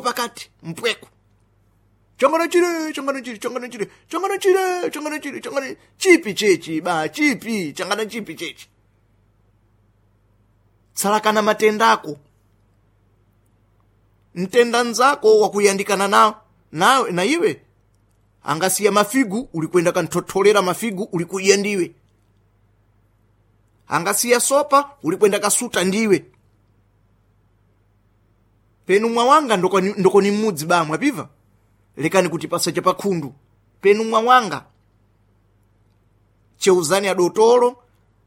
Pakati mpweko changana chile, changana chile, changana chile, changana chile, changana chile, changana chipi chechi ba chipi changana chipi chechi. Tsalakana matendako, mtenda nzako wakuyandikana nawo nawe na iwe angasiya mafigu ulikwenda kanthotholera mafigu ulikuiya ndiwe, angasiya sopa ulikwenda kasuta ndiwe. Penu mwawanga ndokoni mmudzi ba mwapiva lekani kutipasa chapakhundu. Penu mwawanga cheuzani adotolo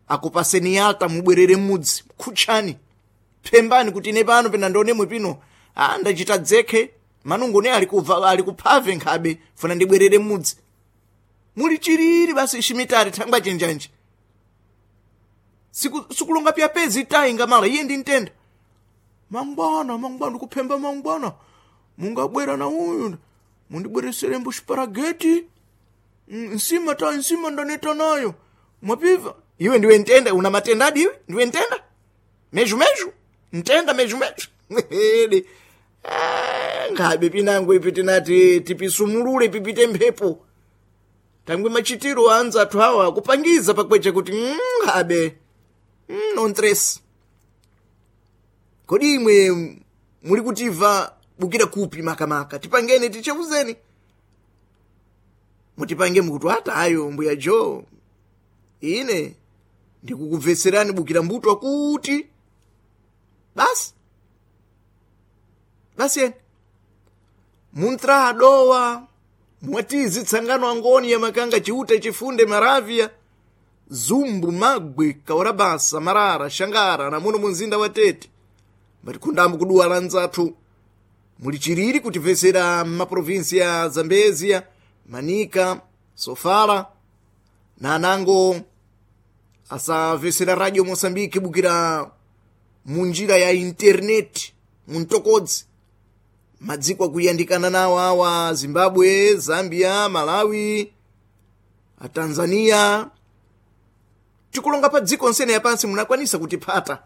akupaseni yalta mubwerere mmudzi, khutchani phembani kuti ine pano pena ndionemwe pino ndachita dzekhe manungo ne alikuphave nkhabe funa ndibwerere mmudzi. Muli chiriri basi shimitari thangwa chenjanji sikulonga pya pezi tayi ngamala iye ndi mtenda mangwana mangwana ndikuphemba mangwana mungabwera na uyu mundibweresere mbuxiparageti nsima ta nsima ndaneta nayo mwapiva. Iwe ndiwe ntenda, una matenda adi iwe ndiwe ntenda meju meju ntenda meju meju. Ede ngabe pinango ipi tinati tipisumulule pipite mphepo tangwe machitiro anza athu awa kupangiza pakweche kuti ngabe nontres. Kodi imwe muli kutiva bukira kupi makamaka tipangeni ticheuzeni mutipange mukuti ata ayo mbuya jo ine ndikukubveserani bukira mbuto akuti basi basi eni muntra adowa mwatizi tsangano angoni ya makanga chiute chifunde maravya zumbu magwe kaurabasa marara shangara namuno munzinda wa Tete mbatikundambo kuduwa la nzathu muli chiriri kutimvesera m'maprovinsi ya Zambezia, Manika, Sofala na anango asamvesera Radio Moçambique bukira munjira ya internet muntokodzi madziko akuyandikana nawo awa Zimbabwe, Zambia, Malawi, a Tanzania. Tikulonga pa dziko nsene yapansi munakwanisa kutiphata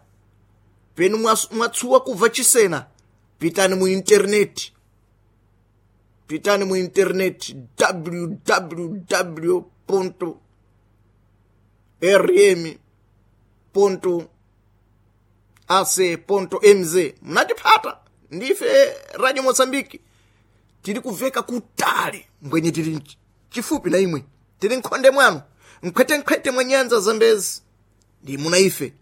penu mwatsuwa kubva chisena. Pitani mu internet, pitani mu internet www rm ac mz munatiphata ndife Radio Moçambique tili kuveka kutali mbwenye tili chifupi na imwe tili nkhonde mwanu nkhwetenkhwete mwa nyanza Zambezi ndi muna ife.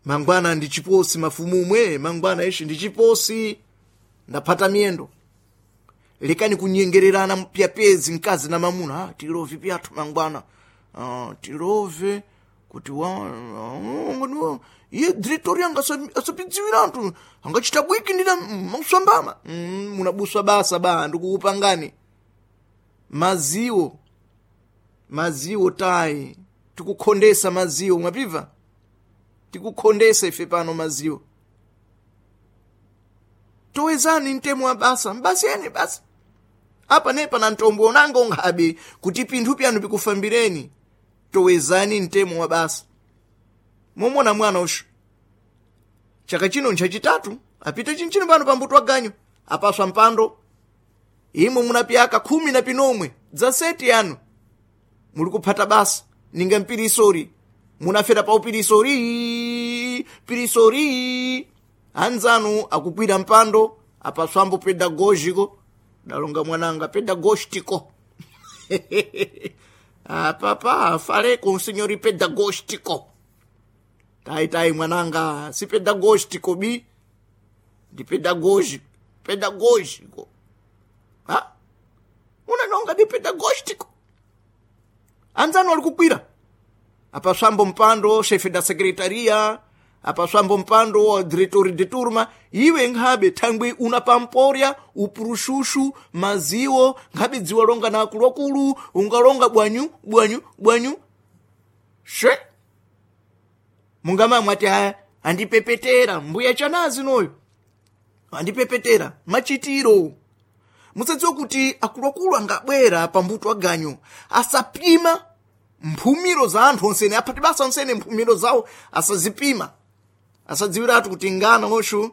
Mangwana ndi chiposi mafumumwe mangwana ishi ndi chiposi ndaphata miyendo. Lekani kunyengererana pyapezi mkazi na mamuna tilove pyathu mangwana tilove kuti wa iye diretori anga asapidziwira anthu angachita bwiki ndina makuswambama munabuswa basa ba ndikukupangani maziwo maziwo tayi tikukhondesa maziwo mwapiva tikukhondesa ife pano maziwo. Towezani mtemo wa basa mbasiyeni basa apa nepa na ntombo unango nkhabe kuti pinthu pyanu pikufambireni. Towezani mtemo wa basa momona mwana ushu chaka chino nchachitatu apite chinchino pano pambuto aganyo apaswa mpando imwe munapyaka 10 na pinomwe dza seti yanu muli kuphata basa ninga mpirisori munafera pa upirisori pirisori anzanu akukwira mpando apaswambo pedagógico dalonga mwananga pedagógico apapa faleko signori pedagógico tai tai mwananga si pedagógico bi ndi pedagógico pedagógico ha unanonga ndi pedagógico anzanu alikukwira apaswambo mpando chefe da secretaria apaswambo mpando wa diretori de turma iwe nkhabe thangwi una pamporya upurushushu maziwo nkhabe dziwa longa na akuluakulu ungalonga bwanyu bwanyu bwanyu she mungamamwe ati aya andipepetera mbuya chanazi noyo andipepetera machitiro. Musadziwe kuti akuluakulu angabwera pambuto aganyo asapima mphumiro za anthu onsene aphati basa onsene mphumiro zawo asazipima asadziwiratu kuti ngana oshu